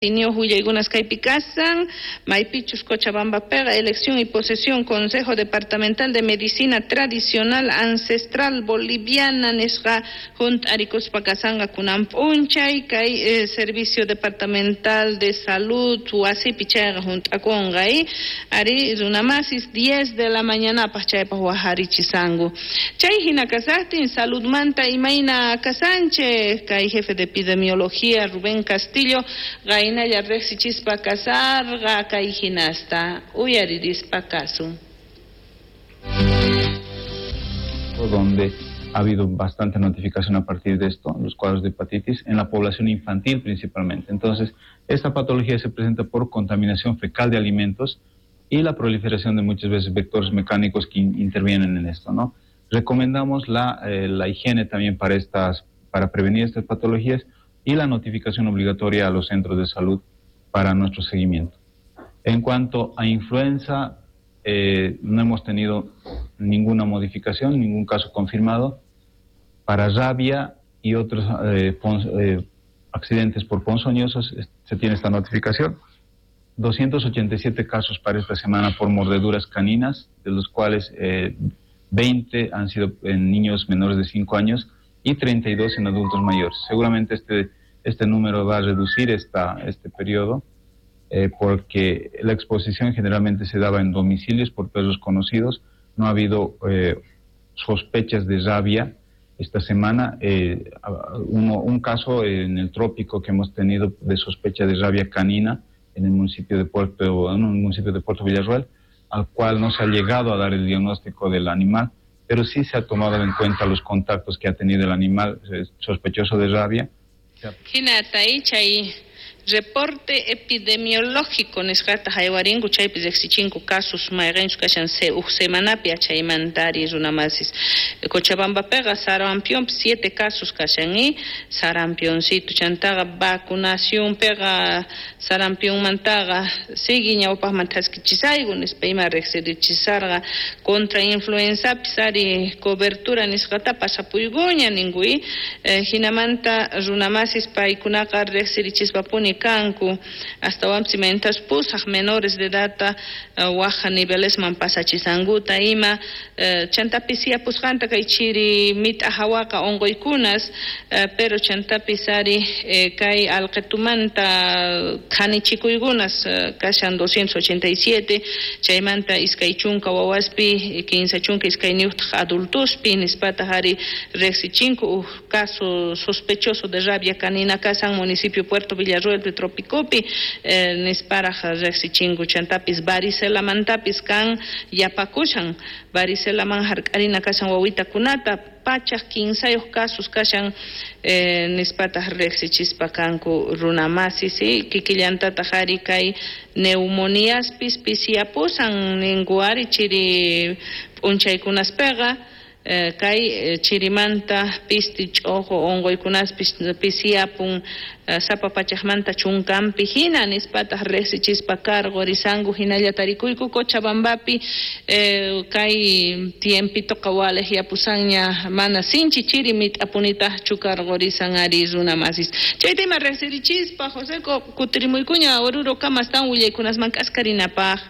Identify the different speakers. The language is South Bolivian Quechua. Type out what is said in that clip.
Speaker 1: Tiniyoj willaykunas kaypi kasan, maypichus Cochabambapiqa elección y posesión Consejo Departamental de Medicina Tradicional Ancestral Boliviana nisqa junt'arikuspa kasanqa kunan p'unchay kay Servicio Departamental de Salud wasipi chayqa junt'akunqa arí runamasis 10 de la mañanapaj chaypaj wajarichisanku. Chay jina kasajtin saludmanta imayna kasanchej kay jefe de epidemiología Rubén Castillo qaynalla riqsichispa kasarqa kay hinasta uyaririspa kasun.
Speaker 2: Donde ha habido bastante notificación a partir de esto, los cuadros de hepatitis, en la población infantil principalmente. Entonces, esta patología se presenta por contaminación fecal de alimentos y la proliferación de muchas veces vectores mecánicos que intervienen en esto, ¿no? Recomendamos la higiene también para prevenir estas patologías y la notificación obligatoria a los centros de salud para nuestro seguimiento. En cuanto a influenza, no hemos tenido ninguna modificación, ningún caso confirmado. Para rabia y otros accidentes por ponzoñosos se tiene esta notificación. 287 casos para esta semana por mordeduras caninas, de los cuales 20 han sido en niños menores de 5 años y 32 en adultos mayores. Seguramente este número va a reducir este periodo, porque la exposición generalmente se daba en domicilios por perros conocidos. No ha habido sospechas de rabia esta semana. Un caso en el trópico que hemos tenido de sospecha de rabia canina en el municipio de Puerto, en un municipio de Puerto Villarroel, al cual no se ha llegado a dar el diagnóstico del animal, pero sí se ha tomado en cuenta los contactos que ha tenido el animal sospechoso de rabia.
Speaker 1: Hinata chay reporte epidemiológico nisqata haywarinku chaypi riqsichinku casos mayqinchus kashan uj semanapi achaymantari runamasis. Cochabambapiqa sarampión 7 casos kashan y sarampioncito chantaqa vacunacionpiqa sarampionmantaqa sigue ñawpaqman thaskichisayku nispa ima riqsirichisarqa contra influenzapis ari cobertura nisqata pasapuykuña ninkuy hinamanta runamasis paykunaqa riqsirichispapuni kanku astawanpis imaynatachus pusaq menores de edad waj nivelesman pasachisankuta ima chantapis yapusqanta kay chiri mit'a hawaqa unquykunas pero chantapis ari kay alqitumanta qhanichikuykunas kashan 287 chaymanta 20 wawaspi 32 adultospi nispataq ari riqsichinku uj caso sospechoso de rabia canina kasan municipio Puerto Villarroel de Tropicopi nisparaj riqsichinku chantapis varicelamantapis kan yapakushan varicelaman hark'arina kashan wawitakunata pachaj 15 casos kashan nispataq riqsichispa kanku runamasis kikillantataq ari kay neumoniaspis pisiyapusan ninku ari chiri p'unchaykunaspiqa kay chirimanta pisti ch'ojo unquykunaspis pisiyapun sapa pachajmanta chunkanpi hina nispataq riqsichispa karqurisanku hinalla tarikuyku Cochabambapi kay tiempitoqa waliq yapusanña mana sinchi chiri mit'apunitaqchu karqurisan ari runamasis. Chayta ima riqsirichispa Joseco kutirimuykuña Oruro kamastan willaykunasman k'askarinapaq.